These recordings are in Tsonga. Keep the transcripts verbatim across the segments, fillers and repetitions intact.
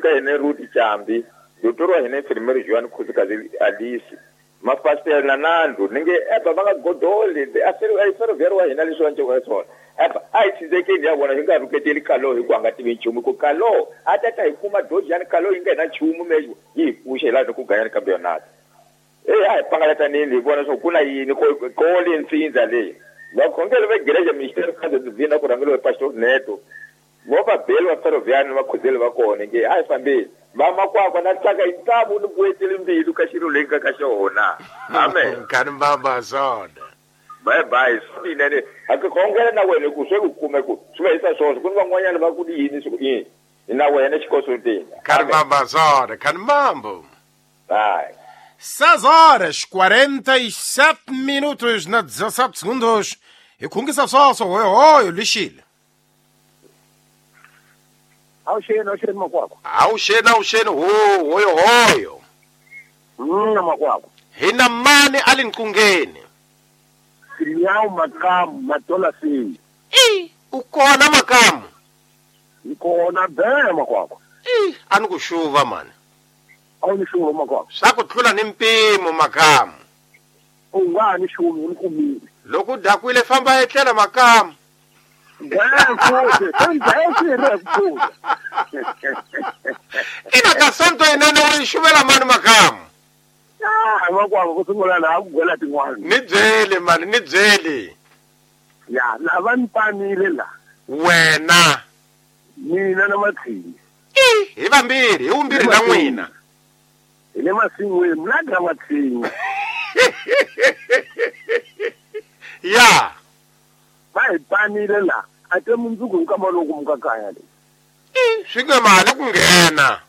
ka hina Ruth Chambi doctor wa hina Enfermeiro Joan Khosikazi Alice mapastor na Nando ninge eba va nga godoli a ferroviário wa hina leswi va nceka swona eba a hi tshizekeni ya vona hi nga rhuketeli Kalo hi ku a nga tivi nchumu ku Kalo a ta ta hi kuma dojani Kalo yi nga hina nchumu mexo yi hi pfuxa hi laha ku ganyani campeonato eh a hi pangalatanini hi vona swo ku na yini ko ko le ntsindza leyi vakhongeri va igreja Ministério Casa Divina ku rhangeriwa hi Pastor Neto vo va beli va ferroviário va khuzeli va kona nge a hi fambeni vamakwakwa na tsaka hi ntamu ni buetele mbilu ka xilo leyi nga ka xona amen kani mbamba zona bye bye swinene a ku khongela na wena ku swe ku kume ku swi va hisa swona ku ni van'wanyana va ku yini swi yini na wena xikosotini kani mbamba zona kani mambo bye. seis horas quarenta e sete minutos na dezassete segundos. E khungisa swoswo hoyo hoyo lixile. Awuxeni awuxeni makwakwa. Awuxeni awuxeni ho hoyo hoyo. Mm makwakwa. Hina mani ali nqungeni. Sinyawu makamu matola sini. I ukona makamu. Ikona be makwakwa. I ani ku xuva mani. Awuni xuva makwakwa. Swa ku tlula ni mpimo makamu. U nga ni xuvi ni kumile. Loko u dakwile famba etlela makamu. Ina ka sonto inene u ri xuvela mani makamu. Ah makwakwa ku sungula laha ku gwela tin'wana. Ni byeli mani ni byeli. Ya lava ni panile la. Wena. Mina na Matshinyi. I hi vambirhi hi vumbirhi na n'wina. Hi le masin'wini mna ga Matshinyi. Ya. Va hi panile la a te mundzuku hi nkama loku muka kaya le. I swi nge mali ku nghena.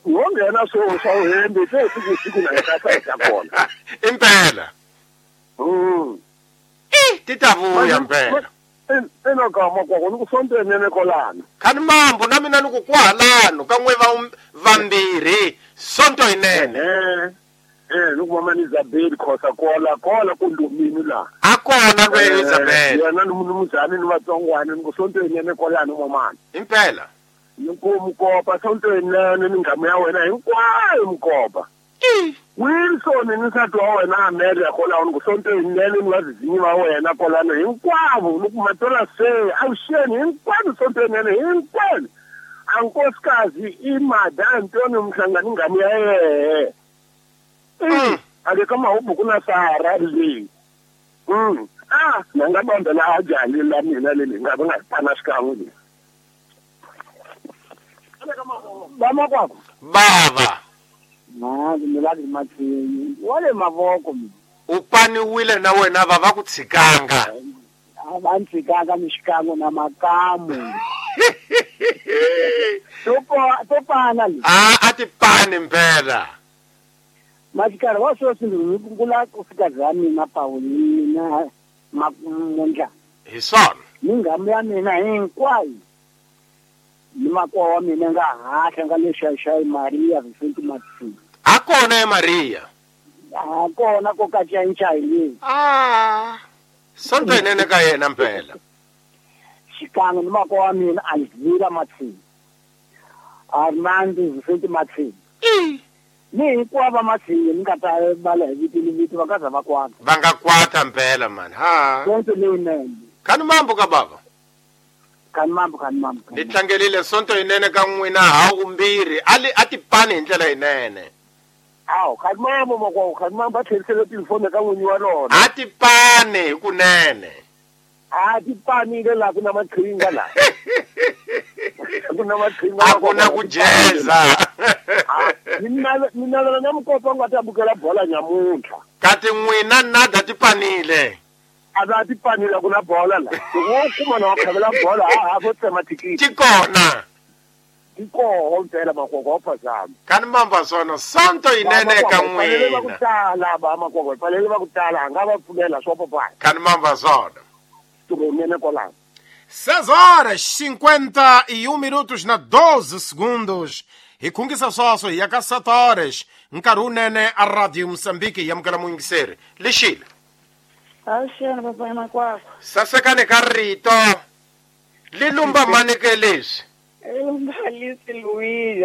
Wo nghena swo swa uhembe se siku siku na ka sa ta kona. Impela. Mm. I ti ta vuya mpela. Ena ka makwakwa ni ku sonto nene kolana. Kani mambo na mina ni ku kwahalano ka n'we va vambirhi sonto yinene. Eh. Eh ni ku mama ni Isabel Khosa kola kola ku ndumini la. A kona lwe Isabel. Yena ni munumuzani ni vatsongwana ni ku sonto yinene kolana mamana. Impela. Ni ku mukopa sonto yinene ni ngamu ya wena hinkwayo mukopa. I Wilson ni nsati wa wena Amelia kolano ni ku sonto yinene ni vazizinyi va wena kolano hinkwavo ni ku matola se awuxeni hinkwavo sonto yinene hinkwenu. Ankosikazi i Mada Antonio Mhlangani ngamu ya yehe. Mm. Ake kama hubu kuna Sara le. Mm. Ah, nanga banda la ajali la mina le ngabe ngapana sikangu le. Bama kwakho. Baba. Na mina la Matshinyi. Wale mavoko mina. Upaniwile na wena baba ku tshikanga. A va ntshikanga ni xikan'we na makamu. To to pana le. Ah, a ti pani mpela. Maxikarhi wa sweswi ni kula ku fika za mina Paulina Makundla. Hi swona. Ni ngamu ya mina hinkwayo. Ni makwa wa mina nga hatla nga le Xaxai Maria Vicente Matshinyi. A kona e Maria. A kona ko ka Xaxai le. Ah. Sonto yinene ka yena mpela. Xikan'we ni makwa wa mina Alvira Matshinyi. Armando Vicente Matshinyi. I ni hinkwavo Matshinyi ni nga ta bala hi vito ni vito va nga za va kwata. Va nga kwata mpela mani. Ha. Sonto leyinene. Kani mambo ka baba. Kani mambo kani mambo. Ni tlangelile sonto yinene ka n'wina ha vumbirhi ali a ti pani hi ndlela yinene. Awu kani mambo makwakwa kani mambo a tlherisele tifoni ka n'winyi wa rona. A ti pani hi kunene. A ti panile la ku na maqhinga la. Ku na maqhinga a ku na ku jeza. Ni navela na mukopa nga ta bukela bola nyamuntlha. Kati n'wina nada ti panile. A va ti panile ku na bola la. Loko wo kuma na wa khavela bola ha ha vo tsema thikithi. Ti kona. Ti koho mpela makwakwa wa phazama. Kani mamba swona sonto yinene ka Fanele va ku n'wina. tala ba makwakwa fanele va ku tala a nga va pfumela swa popana. Kani mamba swona. Nene kolano. seis horas cinquenta e um minutos na doze segundos. Hi khungisa swoswo hi ya ka sete horas. Nkarhi wunene a Radio Moçambique hi amukela muyingiseri. Lixile. Awuxeni papai makwakwa. Sasekani ka rito. Li lumba mani ke leswi? Lumba Alice Luiz.